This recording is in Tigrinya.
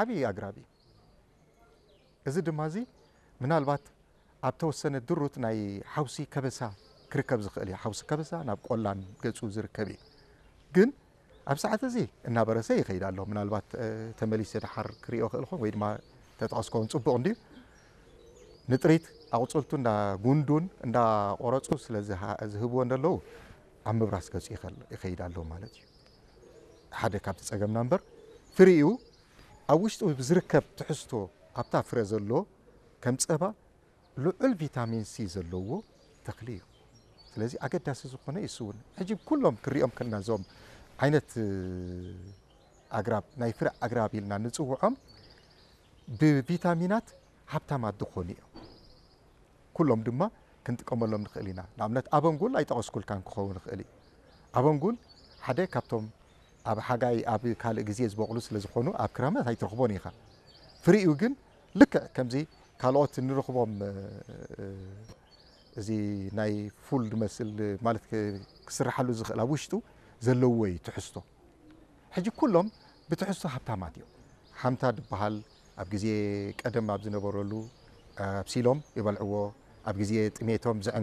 ዓብዪ ኣግራብ እዩ። እዚ ድማ እዚ ምናልባት ኣብ ተወሰነ ድሩት ናይ ሓውሲ ከበሳ ክርከብ ዝኽእል እዩ። ሓውሲ ከበሳ ናብ ቆላን ገጹ ዝርከብ እዩ። ግን ኣብ ሰዓት እዚ እናበረሰ ይኸይድ ኣሎ። ምናልባት ተመሊሰ ደሓር ክሪኦ ክእል ኾን ወይ ድማ ተጠቐስኮን ጽቡቕ እንድዩ። ንጥሪት ኣቑጽልቱ እንዳ ጉንዱን እንዳ ቆረጹ ስለ ዝሃ- ዝህብዎ እንደለዉ ኣብ ምብራስ ገጹ ይኸል- ይኸይድ ኣሎ ማለት እዩ። ሓደ ካብቲ ጸገምና እምበር ፍሪኡ ኣብ ውሽጡ ብዝርከብ ትሕዝቶ ኣብታ ፍረ ዘሎ ከም ጸባ ልዑል ቪታሚን ሲ ዘለዎ ተኽሊ እዩ። ስለዚ ኣገዳሲ ዝኾነ እዩ እሱ እውን። ሕጂ ኩሎም ክሪኦም ከለና እዞም ዓይነት ኣግራብ ናይ ፍረ ኣግራብ ኢልና ንጽውዖም ብቪታሚናት ሃብታማት ዝኾኑ እዮም። ኩሎም ድማ ክንጥቀመሎም ንኽእል ኢና። ንኣብነት ኣበንጉል ኣይጠቐስኩልካን ክኸውን ይኽእል እዩ። ኣበንጉል ሓደ ካብቶም ኣብ ሓጋይ ኣብ ካልእ ግዜ ዝበቕሉ ስለ ዝኾኑ ኣብ ክረምት ኣይትረኽቦን ኢኻ። ፍሪኡ ግን ልክዕ ከምዚ ካልኦት እንረኽቦም እዚ ናይ ፉል ዝመስል ማለት ክስርሓሉ ዝኽእል ኣብ ውሽጡ ዘለዎ እዩ ትሕዝቶ። ሕጂ ኩሎም ብትሕዝቶ ሃብታማት እዮም። ሓምታ ዝበሃል ኣብ ግዜ ቀደም ኣብ ዝነበረሉ ኣብሲሎም ይበልዕዎ፣ ኣብ ግዜ ጥሜቶም